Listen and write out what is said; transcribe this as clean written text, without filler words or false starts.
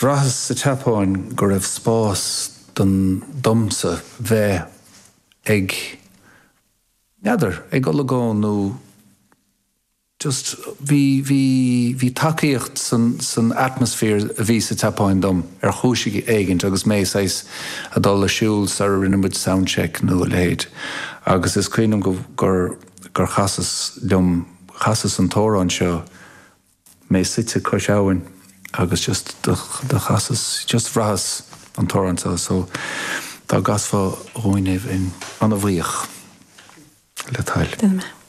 Bhraitheas sa tSeapáin go raibh spás don domsa bheith ag, n'fheadar, ag olagón nó just bhí, bhí, bhí tacaíocht san, san atmosphere a bhí sa tSeapáin dom ar chúis éigint agus mé saghas a dul a siúl sara rinne muid soundcheck nó a leithéid agus is cuimhin liom go, gur, gur chasas liom, chasas an t-amhrán seo mé suite cois abhainn agus just do chasas, just bhraitheas an t-amhrán seo so dá gcasfá dhúinn é bheinn ana-bhuíoch le do thoil. Déanfaidh mé.